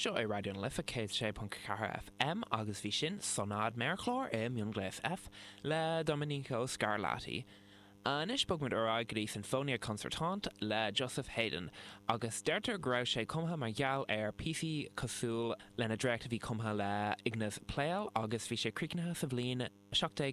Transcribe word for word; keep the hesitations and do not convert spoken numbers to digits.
Seo é Raidió na Life céad sé ponc ceathair FM agus bhí sin Sonáid Méarchlár i Mionghléas F le Domenico Scarlatti. Anois bogfaimid ar aghaidh go dtí Sinfonia Concertante le Joseph Haydn, agus deirtear go raibh sé cumtha mar gheall ar píosaí cosúil lena dréacht a bhí cumtha le Ignaz Pleyel agus bhí sé críochnaithe sa bhliain seacht déag